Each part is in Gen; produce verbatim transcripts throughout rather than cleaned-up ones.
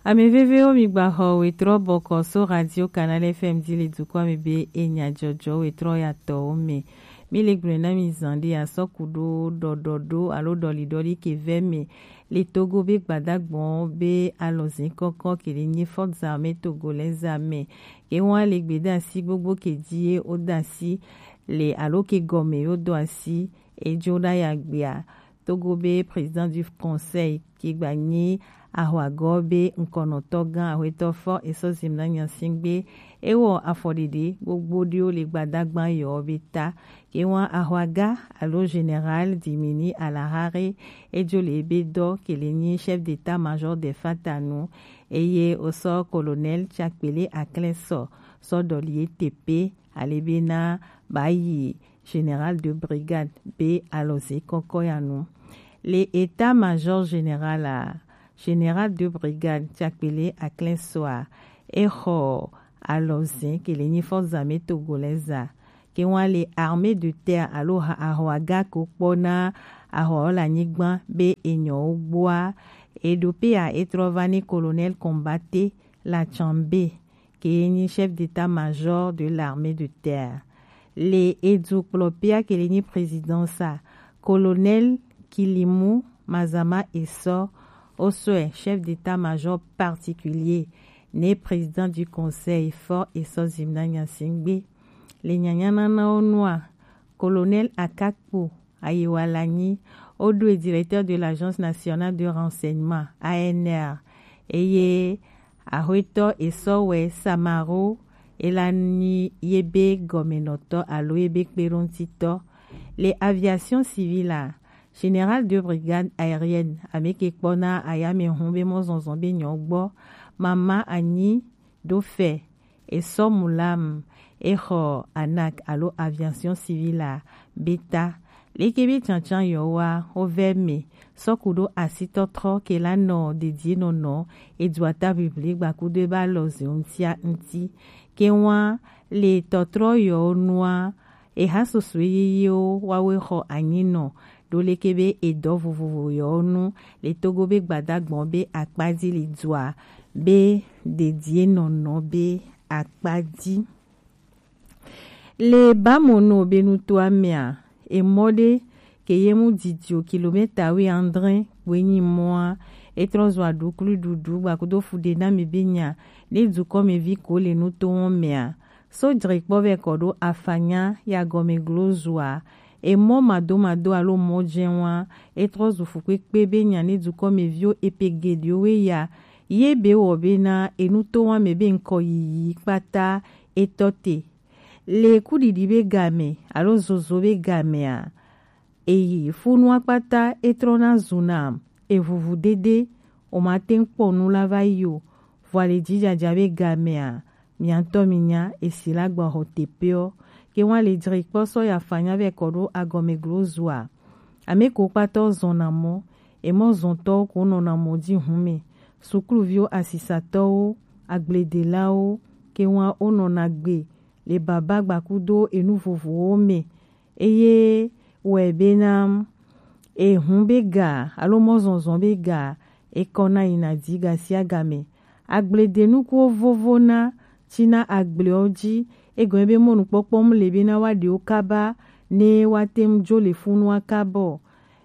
Ame vevewo, mi gba xɔ wetrɔ bɔkɔ so Radio Canal F M di le dukɔ me be enya jɔjɔ wetrɔ ya tɔwo me. Mi le gblɔe na mi zan ɖe asɔ ku ɖo ɖɔɖɔɖo alo ɖɔliɖɔli ke vɛ me le Togo be gbadagbɔn be alɔzin kɔkɔ ke le nyi Forces Armées Togolaises me. Ke wa le gbeɖe asi gbogbo ke ji ye wo da asi le alo ke gɔme yo do asi ejo ɖa ya gbea. Togo be président du conseil ke gba nyi ahwagɔ be ŋkɔnɔtɔ gã ahwetɔ fɔ esɔ zim na nyasingbe ewɔ afɔɖeɖe gbogbo ɖewo le gbadagba yɔ be ta. Ke wa ahwaga alo général Dimini Alahare ejo le ebe dɔ ke le nyi chef d'état-major de fatanu eye osɔ colonel Tsakpele Aklɛsɔ sɔ dɔli etepe ale be na ba yi général de brigade be alɔze kɔkɔ ya nu. Le état-major général a, général de brigade Tsakpele Aklɛsɔ a, exɔ alɔze ke le nyi Forces Armées Togolaises a. Ke wa le armée de terre alo ha- ahwaga ko kpɔ na ahwa le anyigba be enyɔwo gbɔa, eɖo pe a etrɔ va ni colonel Combaté Latchanbé ke ye nyi chef d'état-major de l'armée de terre. Le edukplɔpea ke le nyi présidence a, colonel Kilimu Mazama Esɔ osɔe chef d'état-major particulier ne président du conseil fɔ esɔ zim na nyasingbe. Le nyanyananawo nua, colonel Akakpo Ayewalanyi, wo ɖoe directeur de l'Agence Nationale de Renseignement, A N R, eye ahwetɔ esɔ wɛ Samaro, ela nyi ye be gɔmenɔtɔ alo ye be kpeɖoŋutitɔ. Le aviation civile a, général de brigade aérienne ame ke kpɔ na ayamehun be mɔzɔzɔ be nyɔ gbɔ, mama anyi ɖo fɛ esɔ mulam exɔ anak alo aviation civile a be ta. Leke be tsantsan yɔwoa wo vɛ me sɔ ku ɖo asitɔtrɔ ke la nɔ dedie nɔnɔ edua ta bibli gbakudo ebe alɔze ŋutia ŋuti. Ke wa le tɔtrɔ yɔwo nua eha soso yeyewo wawe xɔ anyinɔ ɖo leke be edɔ vovovo yɔwo nu le Togo be gbadagbɔn be akpa ji le dua be dedie nɔnɔ be akpa ji. Le Bamono be nutoa mea, emɔ ɖe ke ye mu didio kilomita wi andre gbenyi mɔa, etrɔ zɔ aɖuklu ɖuɖu gbakudo fuɖe na mi be nya ne dukɔ me vi ko le nuto wɔn mea. So jre kpɔ vɛ kɔ ɖo afanya ya gɔme glo zua. Emɔ madomado alo mɔ jɛn wa, etrɔ zu fukpekpe be nya ne dukɔ me viwo epe geɖewo we ya. Ye be wɔ be na enuto wa me be ŋkɔ yiyi kpata etɔ te. Le kuɖiɖi be game alo zozo be gamea, eyi funua kpata etrɔna zuna evuvu dede, o ma te ŋu kpɔ nu la va yi o. Vɔ ale jijaja be gamea, mia ŋutɔ mi nya esi la gba xɔ teƒeɔ. Ke wa le jre kpɔ sɔ ya fanya vɛ kɔ ɖo agɔme glo zua. Ame ko kpata zɔna mɔ, emɔ zɔntɔwo ko nɔna mɔ ji hun me. Sukluviwo, asisatɔwo, agbledelawo, ke wa wo nɔna gbe le baba gbakudo enu vovovowo me. Eye wɛ bena ehun be ga alo mɔzɔzɔ be ga ekɔna yina di gasiagame. Agbledenukuwo vovona tsina agblewo ji, egɔme be mɔnukpɔkpɔ mu le bena wa ɖewo kaba ne wa te ŋu jo le funua kabɔ.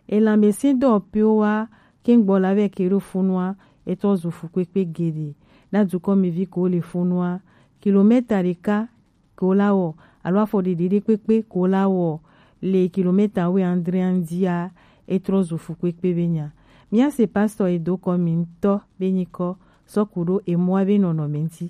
Elanmɛsin dɔwɔƒewo wa ke ŋgbɔ la vɛ ke ɖo funua, etɔ zu fukpekpe geɖe na dukɔmevi ko le funua. Kilomɛta ɖeka ko la wɔ alo afɔ ɖeɖe ɖe kpekpe ko la wɔ le kilomɛta wi andre andia, etrɔ zu fukpekpe be nya. Mia se pastor edo kɔ mi ŋutɔ be nyikɔ sɔ ku ɖo emɔa be nɔnɔme ŋuti.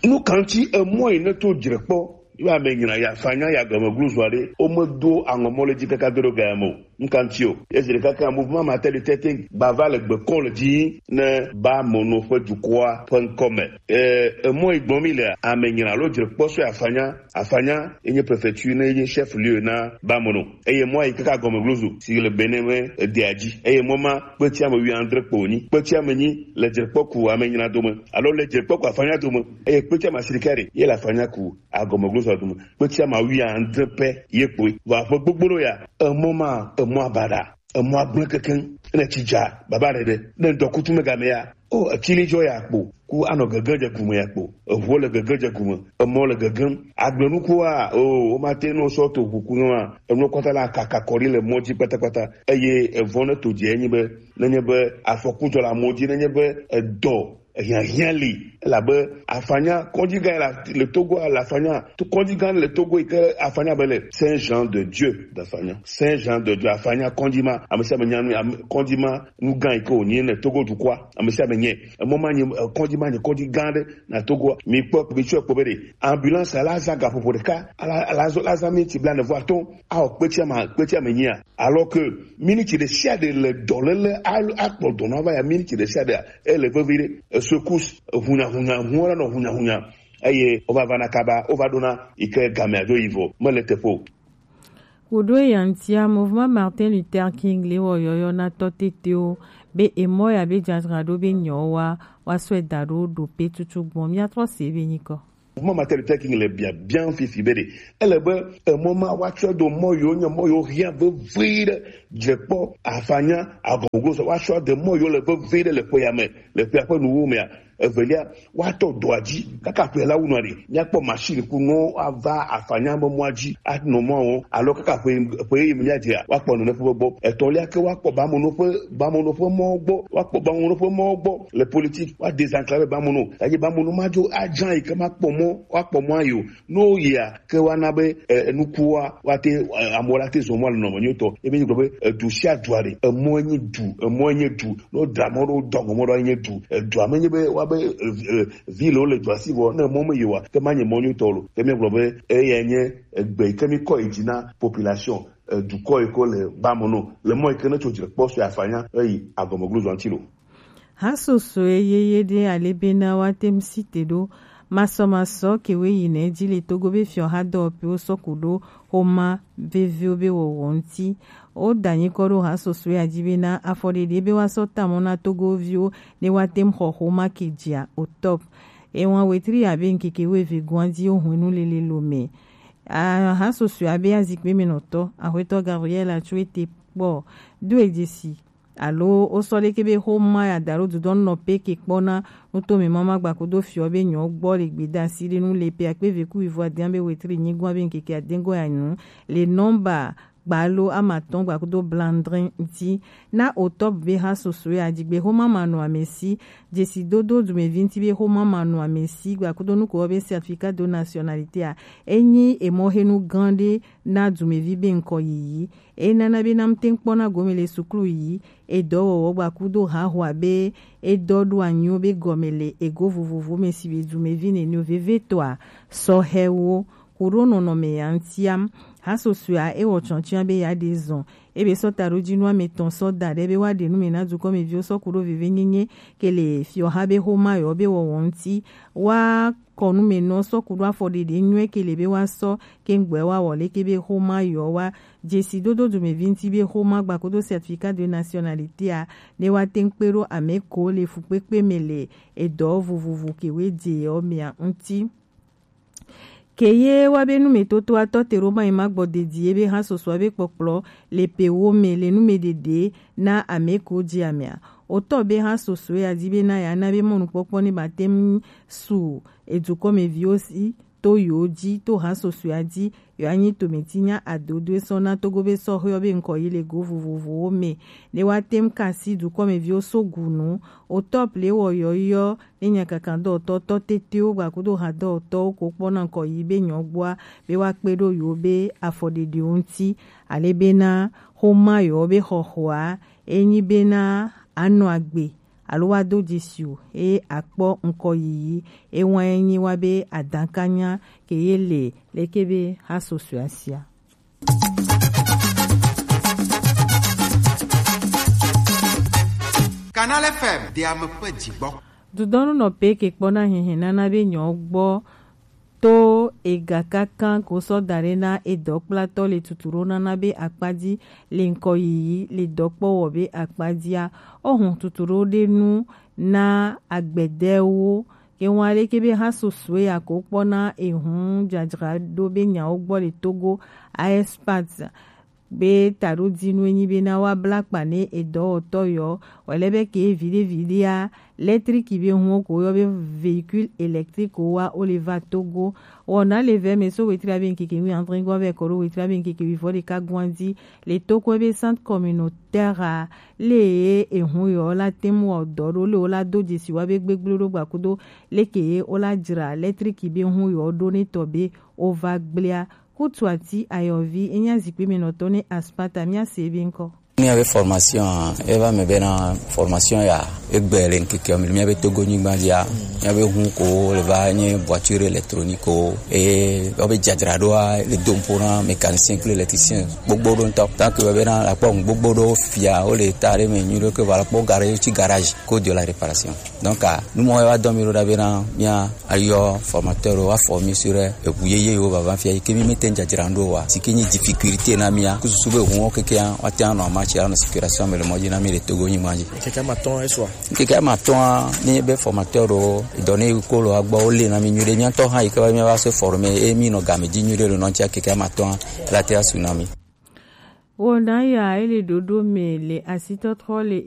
Nu kan ti emɔ yi ne to jre kpɔ yo ame nyina ya fanya ya gɔme glu zua ɖe o me do aŋɔ mɔ le dzi kaka do ɖo ga ya me o. Nkanti o. Ezi ɖeka ke mouvement Matin de Terre te gba va le gbe kɔ le dzi ne Bamono ƒe dukɔa ƒe ŋkɔ me. E, emɔ yi gbɔm mi le ame nyina alo dzre kpɔ sɔ afanya, afanya enye prefecture ne enye chef lieu na Bamono. Eye mɔ yi kaka gɔme glozo si le Benin me edea dzi. Eye mɔ ma kpeti ame wi andre kpo nyi. Kpeti ame nyi le dzre kpɔ ku ame nyina dome alo le dzre kpɔ ku afanya dome. Eye kpeti ame asirika ɖe ye le afanya ku agɔme glozo dome. Kpeti ame wi andre pɛ ye kpoe. Vɔ aƒe gbogbo ya emɔ ma emɔ abaɖa. emɔ agblẽ kekeŋ, ne tsi dza, baba ɖe ɖe, ne ŋdɔ kutu me game ya, o, etsi li dzɔ ya kpo, ku anɔ gege dze gume ya kpo, eʋuɔ le gege dze gume, emɔ le gegem, agblenuku wa, o, womate nɔ sɔ to ʋu ku nɔ wa, enɔ kɔta la kaka kɔ ɖi le mɔ dzi kpatakpata, eye evɔ ne to dze enyi be, nenye be afɔku dzɔ le amewo dzi, nenye be edɔ hiahiã li, elabe afanya kɔdzi gã la le Togo, le afanya to kɔdzi gã le Togo yi ke afanya be le Saint Jean de Dieu de afanya, Saint Jean de Dieu afanya kɔdzi ma, ame sia ame nya nu, ame, kɔdzi ma nu gã yi ke wònyi le Togo dukɔa, ame sia ame nyɛ. Emɔ ma nyi, eh, kɔdzi ma nyi kɔdzi gã aɖe na Togoa. Mi kpɔ, mi tsɔe kpɔ be ɖe ambulance la zã gaƒoƒo ɖeka, ala, ala zɔ, la zã miniti blaene vɔ atɔ̃, awɔ kpetsi ame, kpetsi ame nyia. Alors que miniti ɖe sia ɖe le dɔléle alo akpɔ dɔ na va ya miniti ɖe sia ɖea, ele vevi ɖe. Esecousse, hunyahunya, hu la nɔ hunyahunya. Eye wova va na kaba, wova ɖona yi ke gamea dzo yi vɔ, mele teƒe o. Kudo yantia Mouvement Martin Luther King le wɔ yɔyɔ na tɔ tetewo be emɔ ya be dzadzraɖo be nyɔ wa, wa sɔe da ɖo ɖo pe tutu gbɔn. Mia trɔ se be nyikɔ. Mouvement Martin Luther King le bia bia fifi be ɖe ele be emɔ ma wa tsɔ do mɔ yo nye mɔ yo hia vevi ɖe, dzekpɔ, afanya, agɔgɔ sɔ wa tsɔ de mɔ yo le vevi ɖe le ƒe ya me, le ƒe ya ƒe nuwo mea. Evelia, woatɔ dɔa dzi kaka ƒe la wunɔ ɖe. Míakpɔ machine ku nɔ ava afanya be mɔa dzi anɔ mɔa wɔm. Alo kaka ƒe, ƒe yi míadzea, woakpɔ nɔ ne ƒe gbɔ. Etɔ̃lia ke woakpɔ bamono ƒe, bamono ƒe mɔ gbɔ. Woakpɔ bamono ƒe mɔ gbɔ le politique. Woadesenclaver bamono. Eye bamono madzo adza yi ke makpɔ mɔ, woakpɔ mɔa yi o. No yia ke wana be, eh, nukuwa, wate, eh, amewo la te zɔ mɔ le nɔnɔme nyuitɔ. Ebe gblɔ be, eh, du sia du aɖe, emɔ enyi du, emɔ enyi du. No da mɔ ɖo dɔgɔ mɔ ɖo enyi du. Edua me nye be wa be, eh, eh, vi le wo le dua si vɔ, ne mɔ me yewa, ke ma nye mɔ nyuitɔ lo. Ke mi gblɔ be, eya nye egbe yi ke mi kɔ yi dzi na population, eh, dukɔ yi ko le ba mo no. Le mɔ yi ke ne tso dzi le kpɔ so afanya, eyi agɔme glo zɔ ŋuti lo. Hasosoe yeye ɖe ale bena woate ŋu si te ɖo masɔmasɔ kewo yi nɛ dzi le Togo be fiɔha dɔwɔƒewo sɔ ku ɖo xoma veviwo be wɔwɔ ŋuti. Woda nyikɔ ɖo hasosoea dzi bena afɔɖeɖe be woasɔ ta mɔ na Togoviwo ne woate ŋu xɔ xoma ke dzia o top. Ewa wetri abe ŋkeke wueve goa dzi wohwenu lele lo me. A, hasosoea be azikpe me nɔtɔ, Axwetɔ Gabriel Atsuete kpɔ do edzesi. Alo wosɔ ɖeke be xoma ya da ɖo dudɔ nɔ pe ke kpɔna nutome mama gbakudo fiɔ be nyɔ gbɔ le gbedasi ɖe nu le pe akpe ve ku ivo adia be wetri nyigua be ŋkeke adengɔ ya nu le nɔmba gbalo amatɔn gbakudo blandrin dzi. Na otɔp be hasosoe ajigbe xoma manɔ amesi, dzesidodo dumevi ŋuti be xoma manɔ amesi gbakudo nuko be certificat de nationalité a, enyi emɔxenu gã ɖe na dumevi be ŋkɔ yiyi. Enana be na ŋte ŋkpɔna gome le suklu yi, edɔwɔwɔ gbakudo haxoa be edɔ ɖo anyiwo be gɔme le ego vovovo me si be dumevi nɛnɛwo vevetɔa sɔhɛwo kuɖo nɔnɔme ya ŋutia. Hasosoea ewɔ tsɔtsiã be ya ɖe zɔn. Ebe sɔ taɖojinu ame tɔn sɔ da ɖe be woaɖe nu me na dukɔmeviwo sɔ kuɖo vevenyenye ke le fiɔha be xoma yɔ be wɔwɔ ŋuti. Wa kɔnumenɔ sɔ kuɖo afɔɖeɖe nyuie ke le be woasɔ kengbe woawɔ leke be xoma yewo wa dzesidodo dumevi ŋuti be xoma gbakudo certificat de nationalité a ne woate ŋu kpe ɖo ame ko le fukpekpe me le edɔ vovovo ke woe dze yewo mea ŋuti. Ke ye wa be numetotoatɔ te ɖo ma yi ma gbɔ dedi ye be hasosoa be kpɔkplɔ le pe wo me le numeɖeɖe na ame ko dzi amea. Otɔ be hasosoe adi be na ya na be mɔnukpɔkpɔ ne ba te ŋu su edukɔmeviwo si to yewo dzi to hasosoea dzi yewo anyi tometinya adodoe sɔ na Togo be sɔhɛwo be ŋkɔ yi le go vovovowo me ne woate ŋu kasi dukɔmeviwo so gu nu. Otɔp le wɔ yɔyɔ ne nyakakadɔwɔtɔ tɔ tetewo gbakudo hadɔwɔtɔwo ko kpɔna ŋkɔ yi be nyɔgbɔa be woakpe ɖo yewo be afɔɖeɖewo ŋuti. Ale bena xoma yewo be xɔxɔa enyi bena anɔ agbe alo woado dzesi o, eye akpɔ ŋkɔ yiyi. Ewa enyi wa be adakanya ke ye le leke be hasosoe asia. Canal F M, de ame ƒe dzigbɔ. Dudɔnu nɔ pe ke kpɔna hihi nana be nyɔ gbɔ to ega kaka ko sɔ da ɖe na edɔkplatɔ le tutu ɖo nana be akpadzi le ŋkɔ yiyi le dɔkpɔwɔ be akpadzia. Ohun tutu ɖo ɖe nu na agbɛdɛwo ke ŋu aleke be hasosoe ya ko kpɔna ehun dzadzra ɖo be nyawo gbɔ le Togo a espace Be taɖo dinu enyi be na wa bla kpa ne edɔwɔtɔ yɔ, wɛlɛ be ke vide vide a, lɛtriki be hun ko yɔ be véhicule électrique wa o le va Togo. Wɔna le vɛ me so wetri abe nkeke wi andre gɔn vɛ kɔ ɖo wetri abe nkeke wi vɔ ɖeka gɔn di, le Togo be centre communautaire a, le ye ehun yɔ la tem wɔ dɔ ɖo le wo la do dzesi wa be gbegblẽ ɖo gbakudo leke ye wo la dzra lɛtriki be hun yɔ ɖo ne tɔ be wo va gblẽa. Kutuati ayɔvi enya zikpui me nɔtɔ ne Aspata mia se be ŋkɔ. Mía be formation a, eva me bena formation ya egbe le ŋkeke me mía be Togo nyigba dzia. Mía be hun ko le va nye voiture électronique ko, e wo be dzadzraɖoa le do ŋpo na mécanicien kple électricien gbogbo ɖo ŋutɔ. Tant que bena la kpɔ gbogbo ɖo fia wo le ta ɖe me nyuie ɖo ke va la kpɔ garage ti garage ko de la réparation. Donc, ah, nu mɔ wa dɔ mi ɖo ɖa bena mía ayɔ formateur wa former sur eʋu yeye yo vava fia yi ke mi mete dzadzra ŋɖo wa si ke nyi difficulté na mía ku susu be ʋu wo keke wa te anɔ match anɔ circulation me le mɔ dzi na mi le Togo nyigba dzi. Keke ma tɔn esua. Keke ma tɔn ne be formateur ɖo dɔ ne ko lo agbɔ wo le na mi nyuie ɖe mía tɔ ha yi ke va mía va se former e mi nɔ game dzi nyuie ɖe le nɔ tia keke ma tɔn la te asu na mi. Wɔna ya ele ɖoɖo me le asitɔtrɔ le